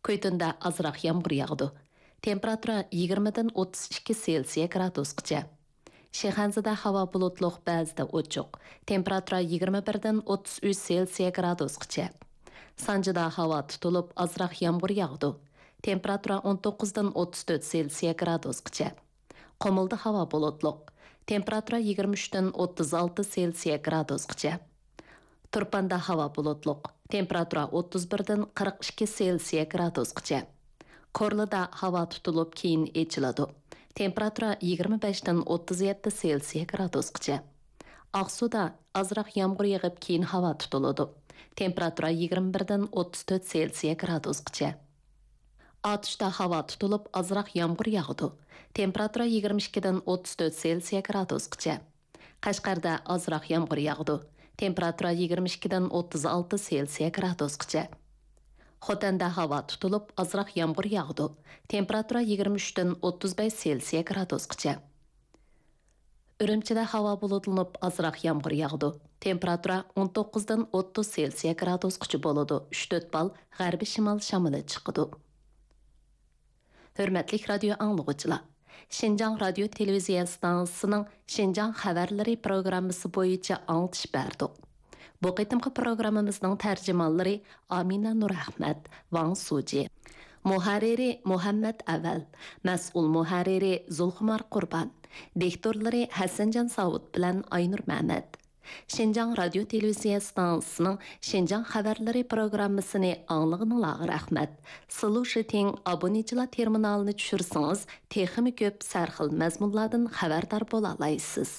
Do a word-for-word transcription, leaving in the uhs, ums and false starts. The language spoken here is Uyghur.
كۈيتۇندا ئازراق يامغۇر ياغىدۇ. تېمپېراتۇرا يىگىرمىدىن ئوتتۇز ئىككى سېلسىيە گرادۇسقىچە. شىخەنزىدە ھاۋا بۇلۇتلۇق، بەزىدە ئوچۇق. تېمپېراتۇرا يىگىرمە بىردىن ئوتتۇز ئۈچ سېلسىيە گرادۇسقىچە. سانجىدا ھاۋا تۇتۇلۇپ، ئازراق يامغۇر ياغىدۇ. تېمپېراتۇرا ئون توققۇزدىن ئوتتۇز تۆت سېلسىيە گرادۇسقىچە. قۇمۇلدا ھاۋا بۇلۇتلۇق. تېمپېراتۇرا يىگىرمە ئۈچتىن ئوتتۇز ئالتە سېلسىيە گرادۇسقىچە. تۇرپاندا ھاۋا بۇلۇتلۇق. تېمپېراتۇرا ئوتتۇز بىردىن قىرىق ئىككى سېلسىيە گرادۇسقىچە. كورلىدا ھاۋا تۇتۇلۇپ، كېيىن ئېچىلىدۇ. تېمپېراتۇرا يىگىرمە بەشتىن ئوتتۇز يەتتە سېلسىيە گرادۇسقىچە. ئاقسۇدا ئازراق يامغۇر يېغىپ، كېيىن ھاۋا تۇتۇلىدۇ. تېمپېراتۇرا يىگىرمە بىردىن ئوتتۇز تۆت سېلسىيە گرادۇسقىچە. ئاتۇشتا ھاۋا تۇتۇلۇپ، ئازراق يامغۇر ياغىدۇ. تېمپېراتۇرا يىگىرمە ئىككىدىن ئوتتۇز تۆت سېلسىيە گرادۇسقىچە. قەشقەردە ئازراق يامغۇر ياغىدۇ. تېمپېراتۇرا يىگىرمە ئىككىدىن ئوتتۇز ئالتە سېلسىيە گرادۇسقىچە. خوتەندە ھاۋا تۇتۇلۇپ، ئازراق يامغۇر ياغىدۇ. تېمپېراتۇرا يىگىرمە ئۈچتىن ئوتتۇز بەش سېلسىيە گرادۇسقىچە. ئۈرۈمچىدە ھاۋا بۇلۇتلىنىپ، ئازراق يامغۇر ياغىدۇ. تېمپېراتۇرا ئون توققۇزدىن ئوتتۇز سېلسىيە گرادۇسقىچە بولىدۇ. ئۈچ تۆت بال غەربىي شىمال شامىلى چىقىدۇ. ھۆرمەتلىك رادىيو ئاڭلىغۇچىلار! شىنجاڭ رادىيو تېلېۋىزىيە ئىستانسىسىنىڭ شىنجاڭ خەۋەرلىرى پروگراممىسى بويىچە ئاڭلىتىش بەردۇق. بۇ قېتىمقى پروگراممىمىزنىڭ تەرجىمانلىرى ئامىنە نۇرئەخمەت، ۋاڭ سۇجى. مۇھەررىرى مۇھەممەت ئەۋەل، مەسئۇل مۇھەررىرى زۇلخۇمار قۇربان، دىكتورلىرى ھەسەنجان ساۋۇت بىلەن ئاينۇر مەمەت. شىنجاڭ رادىيو تېلېۋىزىيە ئىستانسىسىنىڭ شىنجاڭ خەۋەرلىرى پروگراممىسىنى ئاڭلىغىنىڭلارغا رەھمەت. سىلۇشىتىڭ ئابونېچىلار تېرمىنالىنى چۈشۈرسىڭىز، تېخىمۇ كۆپ سەرخىل مەزمۇنلاردىن خەۋەردار بولالايسىز.